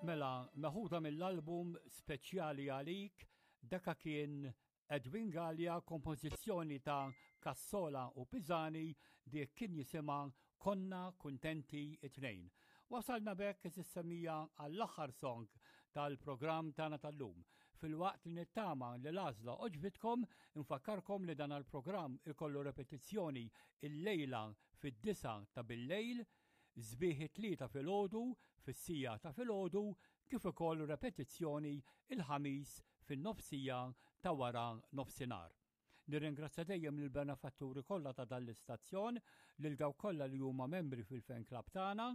Mela, meħuda mill-album speċjali għalik, daka kien Edwin Galea, kompożizzjoni ta' Cassola u Pisani, dik kien jisimha Konna Kuntenti it-Tnejn. Wasalna b'hekk is-semmija għall-aħħar song tal-programm tagħna tal-lum. Filwaqt li nittama li l-għażla għoġbitkom, infakkarkom li dan il-programm ikollu repetizzjoni illejla fid-disgħa ta' billejl, sbieħ it-Tlieta filgħodu fis-siegħa ta' filgħodu kif ukoll repetizzjoni il-Ħamis fin-nofsija ta' wara nofsinhar. Nirringrazzja dejjem lill-benefatturi kollha ta' dan l-istazzjon, lil dawk kollha li huma membri fil-fan club tagħna,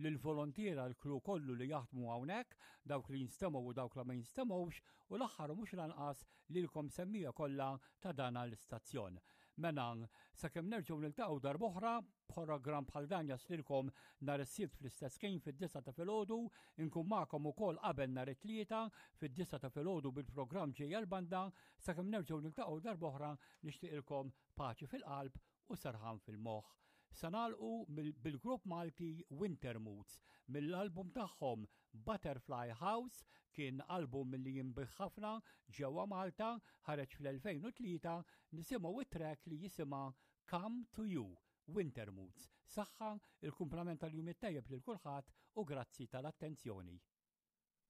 lill-volontiera l-crew kollu li jaħdmu hawnhekk, dawk li jinstemgħu u dawk li ma jinstemgħux, u l-aħħar u mhux l-anqas lilkom semmiegħa kollha ta' dan l-istazzjon. Mela, sakemm nerġgħu niltaqgħu darb'oħra, Programm bħal dan jaslilkom nhar is-Sibt fl-istess ħin fid-disgħa ta' filgħodu, inkun magħkom ukoll qabel nhar it-Tlieta fid-disgħa ta' filgħodu bil-programm Ġejja l-Banda, sakemm nerġgħu niltaqgħu darb'oħra nixtieqilkom paċi fil-qalb u serħan fil-moħħ. Se nagħlqu bil-grupp Malti Winter Moods mill-album tagħhom Butterfly House, kien album li jinbiegħ ħafna ġewwa Malta, ħareġ fl-2003, nisimgħu it-track li jisimha Come to You, Winter Moods. Saħħa, il-kumplament tal-jum it-tajjeb lil kulħadd u grazzi tal-attenzjoni.